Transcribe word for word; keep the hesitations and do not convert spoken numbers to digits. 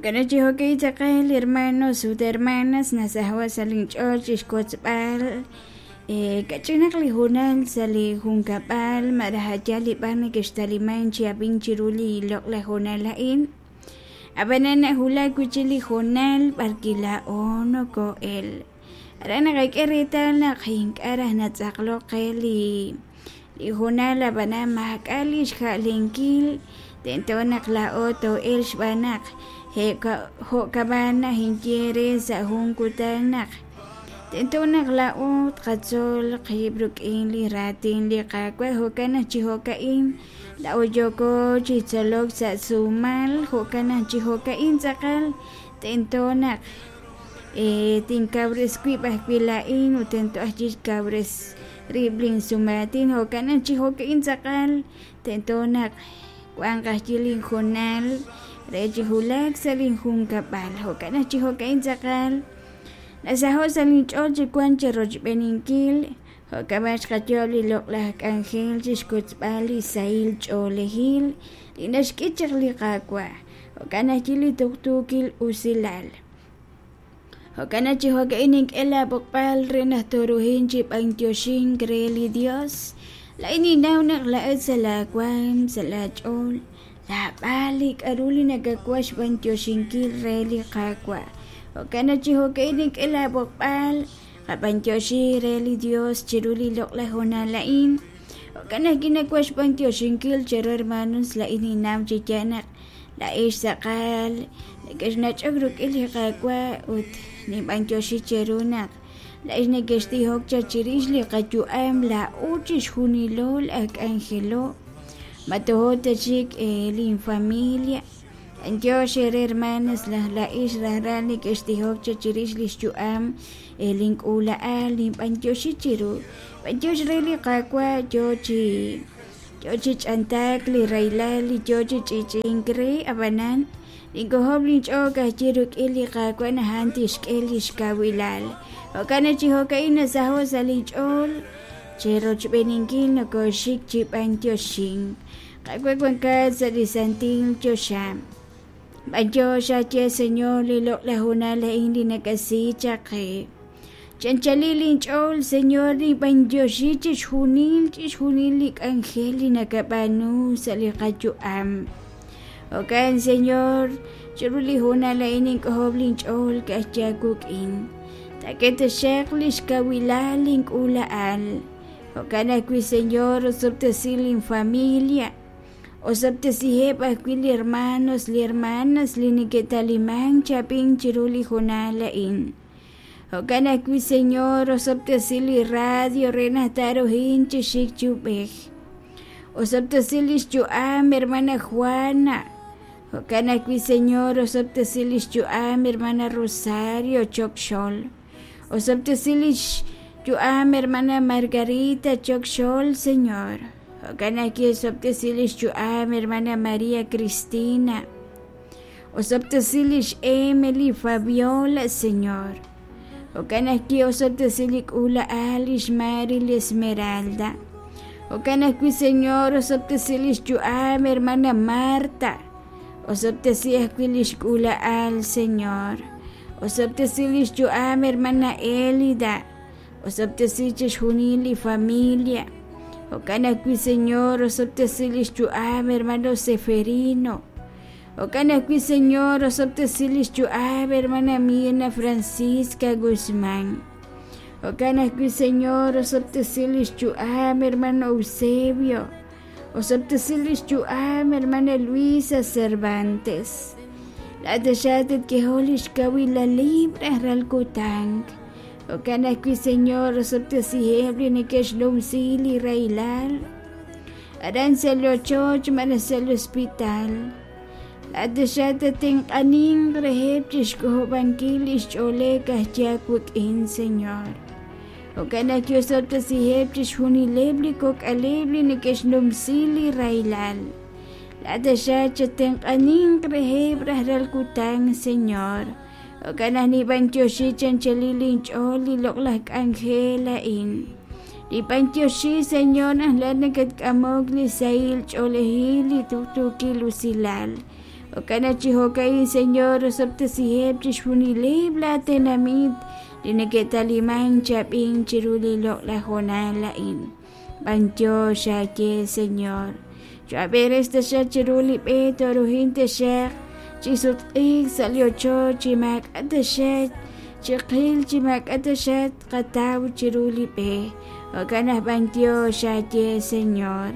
Jo'kan chi jo'ka'in tz'aqal hermanos ut hermanas nasaho' sa' linch'ool chi xwotzb'al kach'inaq li hoonal sa' li junkab'al malaj a' yaal li b'ar nekextaliman chi ab'ink chiru li loq'laj hoonal a'in. Ab'anan nawulak wi' chik li hoonal b'ar wi' laa'o noko'el. Aran naqak'e reetal naq ink'a' raj natz'aqlok qe li li hoonal ab'anan maak'a' li xja'lenkil tento naq laa'o too'elq xb'aan naq jo'kab'an naj inye re sa' jun kutan naq tento naq laa'o tqatzol qib' rik'in li raatin li Qaawa' jo'kan naq chi jo'ka'in laa'o yooko chi tzolok sa' sumal jo'kan naq chi jo'ka'in tz'aqal tento naq tinkawres wib' ajwi' laa'in ut tento ajwi' xkawres rib' linsumaatin jo'kan naq chi jo'ka'in tz'aqal tento naq wanq ajwi' linhoonal re chi wulak sa' linjunkab'al jo'kan naq chi jo'ka'in tz'aqal nasaho' sa' linch'ool chi wank chirochb'eeninkil jo'kab'an xqayo'ob' li loq'laj k'anjel chi xkotzb'al li sahil ch'oolejil li naxk'e chaq li Qaawa' jo'kan ajwi' li tuqtuukil usilal. Jo'kan naq chi jo'ka'in nink'e laab'oqb'al re naq tooruhin chi b'antioxink re li Dios. Laa'in ninnaw naq laa'at sa' laawaanm sa' laach'ool laab'al li k'a'ru li nakawaj xb'antioxinkil re li Qaawa'. Jo'kan naq chi jo'ka'in nink'e laab'oqb'al qab'antioxi re li Dios chiru li loq'laj hoonal a'in. Jo'kan naq kinawaj xb'antioxinkil cheru hermanos laa'in ninnaw chi yaal naq laa'ex tz'aqal nekexnach'ok rik'in li Qaawa' ut ninb'antioxi cheru naq laa'ex nekextijok chaq chirix li qayu'am laa'o chixjunilo laj k'anjelo ma tojo ta chik linfamilia. Antiox ere hermanas laj laa'ex rajlal nekextijok chaq chirix li xyu'am link'uula'al ninb'antioxi chiru. B'antiox re li Qaawa' yo chi yo chi ch'antaak li rahilal li yo chi ch'ich'ink re ab'anan ninkojob' linch'ool ka'ajwi' rik'in li Qaawa' naq a'an tixk'e li xkawilal. Jo'kan naq chi jo'ka'in nasaho' sa' linch'ool chirochb'eeninkil nokoxik chi b'antioxink. Qaawa' wankat sa' li santil choxa. B'antiox aye Señor li loq'laj hoonal a'in li nakasi chaq qe. Chanchalil linch'ool Señor ninb'antioxi chixjunil chixjunil li k'anjel li nakab'aanu sa' li qayu'am. Jo'kan Señor chiru li hoonal a'in nink'ojob' linch'ool ka'ajwi' aawik'in. Taak'e taxaq li xkawilal link'uula'al. Jo'kan ajwi' Señor osob'tesi linfamilia. Osob'tesiheb' ajwi' li hermanos li hermanas li neke'talimank chi chiru li hoonal a'in. Jo'kan ajwi' Señor osob'tesi li radio re naq taaruhin chi xik chi ub'ej. Osob'tesi li xyu'am hermana Juana. Jo'kan ajwi' Señor osob'tesi li xyu'am hermana Rosario Chokxol. Osob'tesi li xyu'am hermana Margarita Chokxol, Señor. Jo'kan ajwi' osob'tesi li xyu'am hermana María Cristina. Osob'tesi li xEmily Fabiola, Señor. Jo'kan ajwi' osob'tesi li k'uula'al li xMary li Esmeralda. Jo'kan ajwi' Señor osob'tesi li xyu'am hermana Marta. Osob'tesi ajwi' li xk'uula'al, Señor. Osob'tesi li xyu'am hermana Elida. Osob'tesi chixjunil li familia. Jo'kan ajwi' Señor osob'tesi li xyu'am hermano Seferino. Jo'kan ajwi' Señor osob'tesi li xyu'am hermana Mirna Francisca Guzmán. Jo'kan ajwi' Señor osob'tesi li xyu'am hermano Eusebio. Osob'tesi li xyu'am hermana Luisa Cervantes. Laat taxaq li xkawilalib rajlal kutan. Jo'kan ajwi' Señor osob'tesiheb' li neke'xnumsi li rahilal. Aran sa' li ochoch malaj sa' li hospital. Laat taxaq tatenq'anin reheb' chixk'ojob'ankil li xch'oolej ka'ajwi' aawik'in, Señor. Jo'kan ajwi' osob'tesiheb' chixjunileb' li kok'aleb' li neke'xnumsi li rahilal. Laat taxaq chatenq'anin reheb' rajlal kutan, Señor. Jo'kan naq nib'antioxi chanchalil linch'ool li loq'laj k'anjel a'in. Nib'antioxi, Señor, naq laat nakatk'amok li sahil ch'oolejil li tuqtuukil usilal. Jo'kan naq chi jo'ka'in, Señor, osob'tesiheb' chixjunileb' laa tenamit li neke'talimank chi ab'ink chiru li loq'laj hoonal a'in. B'antiox aawe, Señor. Cho'ab'eres taxaq chiru li b'e tooruhin taxaq chi sutq'iik sa' li ochoch chi maak'a' taxaq chiqil chi maak'a' taxaq tqataw chiru li b'e. Jo'kan naq b'antiox aawe, Señor.